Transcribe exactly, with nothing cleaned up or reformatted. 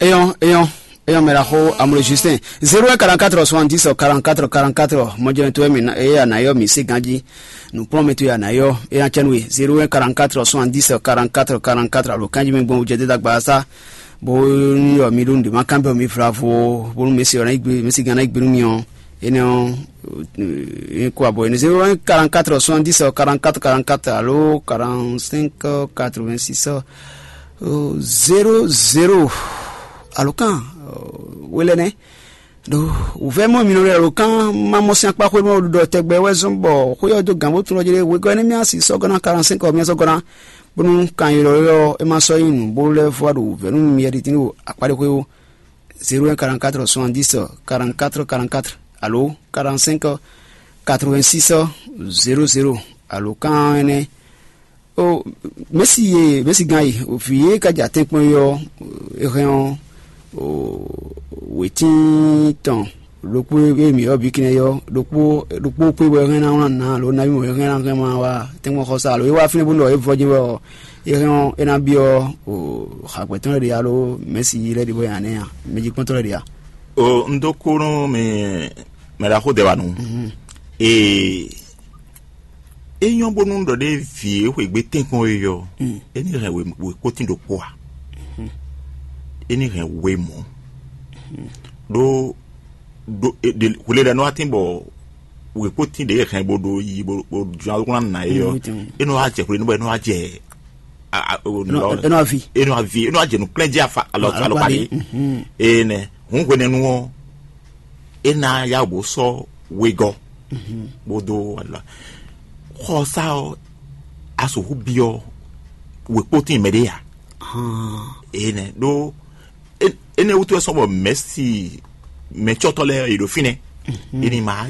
Eyɔn, eyɔn, eyɔn, mɛ ɖaxó Amlo Justin. Zéro un quarante-quatre soixante-dix quarante-quatre quarante-quatre. Mɔjɛnɛ towe mi na, eye a nǎ yɔ mǐ se ganjí. Nǔkplɔ́nmɛ towe a nǎ yɔ, é ná cɛ nú we. Zéro un quarante-quatre soixante-dix quarante-quatre quarante-quatre. Alo kanjí mi gbɔn wujɛ dé dagba sá. Bó ní yɔ mi ɖó nǔɖé ma kán bɛ mi vlavo, bónú mɛ si ɔ́ ná yi gbe, mɛ si gán ná yi gbe nú mi ɔ́, énɛ́ ɔ́, é kó abɔ énɛ́ zéro un quarante-quatre soixante-dix quarante-quatre quarante-quatre alo quarante-cinq quatre-vingt-six zéro zéro. Alo kan wé lɛ́ nɛ́. Ɖo wǔvɛ́ mɔ mi nɔ ɖo kan ma mɔ sín akpá xwé mɛ ɖɔ tɛgbɛ wɛ zɔ́n bɔ xwé ɔ́ dó gǎn bó tunwun ɔ́ jlé wegɔ́ énɛ́ mì así sɔ́ gɔ́ ná quarante-cinq ɔ́ mì sɔ́ gɔ́ ná. Bónú kan ylɔ́ylɔ́ ɔ́, é ma sɔ́ nyí nǔ bó lɛ́ vɔ wá ɖo wǔvɛ́ nú mi yɛ ɖi tín ɖo akpáɖexwé ó. Zéro un quarante-quatre soixante-dix quarante-quatre quarante-quatre alo quarante-cinq quatre-vingt-six zéro zéro. Alo kan énɛ́. Ó, mɛ̌si e mɛ̌si gán e vǐ e ka ja tɛ́nkpɔ́n é ɔ́, é hɛn ɔ́, wětín tɔn ɖokpó e mǐ ɔ́ bǐ kinɛ ɔ́, ɖokpó ɖokpó kpé wɛ hɛn ná wlán nǎ alo nabí mɔ̌ hɛn ná hɛn ma wá tɛ́nkpɔ́n xɔsá alo é wá fínɛ́ bónú ɔ́ é vɔ jɛ́n wɛ ɔ́, é hɛn ɔ́ é ná byɔ́ xagbɛ̌ tɔn lɛ́ɛ ɖě alo mɛ̌si lɛ́ɛ ɖě bɔ nya nɛ́ a, mɛjikpɔ́ntɔ́ lɛ́ɛ ɖě a? O, un dó kú nú mi mɛ ɖaxó Dɛwanu. Ee, é nyɔ́ bónú ɖɔ ɖé vǐ e xweyǐgbe tɛ́nkpɔ́n é ɔ́, é ní hɛn wěkpótín ɖokpó a? É ní hɛn we mɔ̌. Ɖó ɖó hwelelɛnú wá tín bɔ wěkpótín ɖě e hɛn bó ɖó yi bó bó jɔ́n alukún ná ná é ɔ́, é nɔ wá jɛ hwelelɛnú bɔ é nɔ wá jɛ é nɔ avi é nɔ avi é nɔ wá jɛ nǔkplɛ́njí afa alɔ alɔkpa ɖé. Ee nɛ hǔn hwenɛ́nu ɔ́, é ná yá wǒ sɔ́ wegɔ́ bó dó wala. Xɔsá ɔ́, a sixú byɔ́ wěkpótín mɛɖé a? Ee nɛ ɖó énɛ́ wútu wɛ sɔ́ bɔ mɛ̌si mɛ̌cɔ́tɔ́ lɛ́ɛ yě ɖo fínɛ́. Ini ma